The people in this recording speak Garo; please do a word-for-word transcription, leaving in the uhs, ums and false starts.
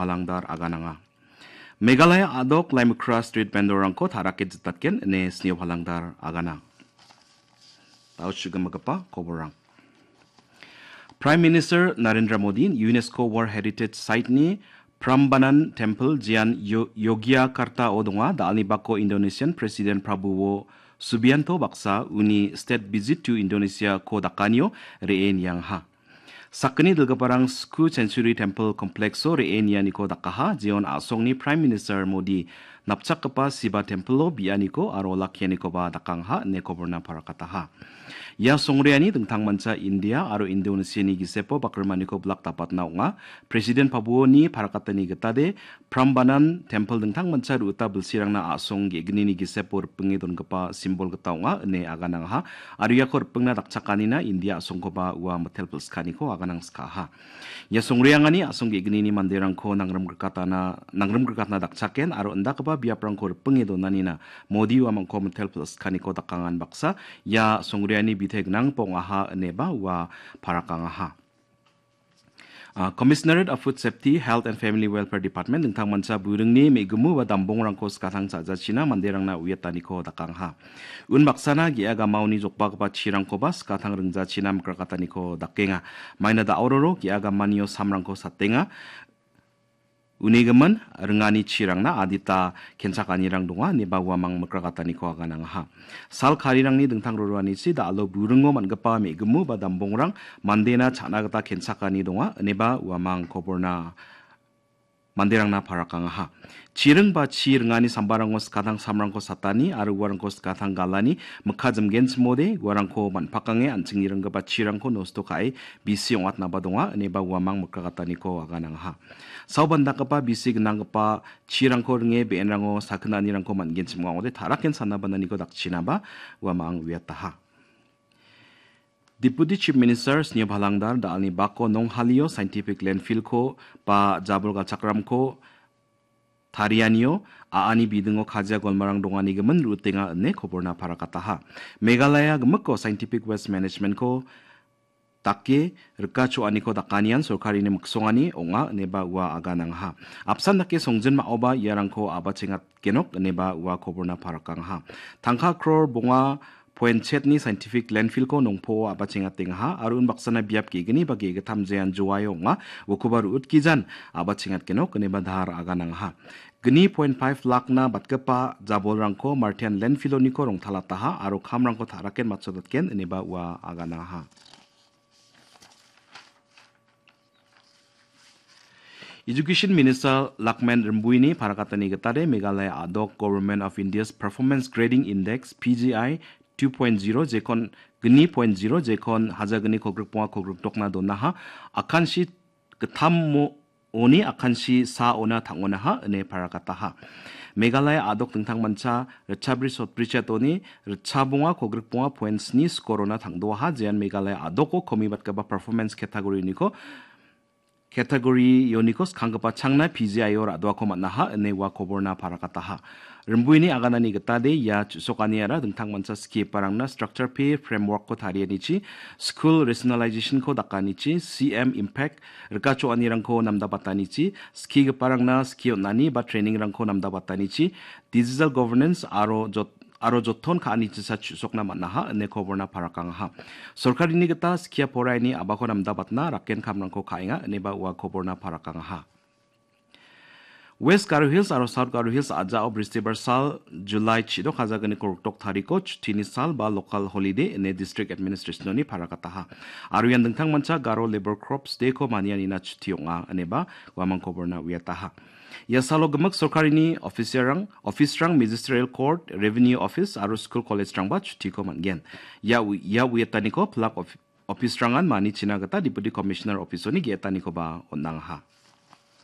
Palangdar agananga. Meghalaya a·dok Laimukra street vendor-rangko ta·rake jitatgen ine Sneo Palangdar agana. Dao chugimagipa koborrang. Prime Minister Narendra Modi UNESCO World Heritage Site-ni Prambanan Temple, jean Yo-, Yogyakarta-o donga, da·alni bako Indonesian President Prabowo Subianto baksa uni State Visit to Indonesia-ko dakanio re·e niangaha. Sakgni dilgiparang Sku Century Temple Complex-o re·e nianiko dakaha, jeon a·songni Prime Minister Modi napchakgipa Siba Temple-o bianiko aro olakkianikoba dakangaha ine koborna parakataha. Ia songreani dingtangmancha India aro Indonesiani gisepo bakrimaniko bilak dapatna ong·a. President Prabowo-ni parakatani gitade Prambanan Temple dingtangmancha ru·ita bilsirangna a·song ge·gnini gisepo ripinge dongipa simbol gita ong·a ine aganangaha. Aro iako ripingna dakchakanina India a·songkoba ua mitel pilskaniko aganangskaha. Ia songreangani a·song ge·gnini manderangko nangrimgrikatana-, nangrimgrikatna dakchaken aro indakgipa biaprangko ripinge donanina Modi uamangko mitel pilskaniko dakangan baksa ia songreani bite gnangba ong·aha ineba ua parakangaha. Ah, Commissionerate of Food Safety, Health and Family Welfare Department dingtangmancha buringni me·gimu ba dambongrangko skatang cha·jachina manderangna uiataniko dakangaha. Unbaksana ge·a gamaoni jokbagipa chirangkoba skatang ringjachina mikrakataniko dakenga. Maina da·ororo ge·a gamanio samrangko satenga. Unigimin ringani chirangna adita kenchakanirang donga ineba uamang mikrakataniko aganangaha. Sal karirangni dingtang roroanichi da·alo buringo man·gipa me·gimu ba dambongrang mandena cha·na gita kenchakani donga ineba uamang koborna manderangna parakangaha. Chiring ba chi ringani sambarango skatang samrangko satani aro uarangko skatang galani mikka jimgenchimode uarangko man·pakange an·chingni ringgipa chirangko nosto ka·e bisi ong·atnaba donga ineba uamang mikrakataniko aganangaha. Saobandakgipa bisi gnanggipa chirangko ringe be·enrango sakinanirangko man·genchim ong·a ong·ode ta·raken sana bananiko dakchinaba uamang uiataha. Deputy Chief Minister Sneo Palangdar da·alni bako Nonghalio scientific landfill-ko ba jabol galchakramko tarianio a·ani bidingo kajia golmarang donganigimin ru·utenga ine koborna parakataha. Meghalaya gimikko scientific waste management-ko dake rika cho·aniko dakanian sorkarini miksongani ong·a ineba ua aganangaha. Apsan dake songjinma·oba iarangko abachengatgenok ineba ua koborna parakangaha. Tangka kror bonga poinchetni scientific landfill-ko nongpoo abachengatengaha aro unbaksana biap ge·gni ba ge·gittam jean Joaio ong·a, ukoba ru·utgijan abachengatgenok ineba dahar aganangaha. Gni point five lakna batgipa jabolrangko Martian landfill-oniko rongtalataha aro kamrangko ta·raken matchodatgen ineba ua aganangaha. Education Minister Lakmen Rimbuini parakatani gitade Meghalaya a·dok Government of India's Performance Grading Index, P G I, two point zero jekon gni point zero jekon hajagni kogrikbonga kogrikdokna donaha, akansi gittam mo-, oni akansi sa ona tang·onaha ine parakataha. Meghalaya a·dok dingtangmancha ritchabri sotbrichetoni ritchabonga kogrikbonga point sni skorona tangdoaha, jean Meghalaya a·doko komibatgipa performance category-niko, category-oniko skanggipa changna P G I-o ra·doako man·aha ine ua koborna parakataha. Rimbuini aganani gitade ia chu·sokaniara dingtangmancha skiparangna structure pay framework-ko tarianichi, school rationalization-ko dakanichi, C M Impact rikachoanirangko namdabatanichi, skigiparangna ski on·ani ba training-rangko namdabatanichi, digital governance aro jot-, aro joton ka·anichisa chu·sokna man·aha ine koborna parakangaha. Sorkarini gita skia poraini a·bako namdabatna raken kamrangko ka·enga ineba ua koborna parakangaha. West Garo Hills aro South Garo Hills a·jao bristibar sal July chidok hajagni korokdok tariko chutini sal ba local holiday ine district administration-oni parakataha. Aro ian dingtangmancha Garo Labour Corps Day-ko manianina chuti ong·a ineba uamang koborna uiataha. Ia salo gimik sorkarini officer-rang, office-rang, Magisterial Court, Revenue Office aro school college-rangba chutiko man·gen. Ia u-, ia uiataniko pilak of-, office-rangan manichina gita Deputy Commissioner office-oni ge·etanikoba on·angaha.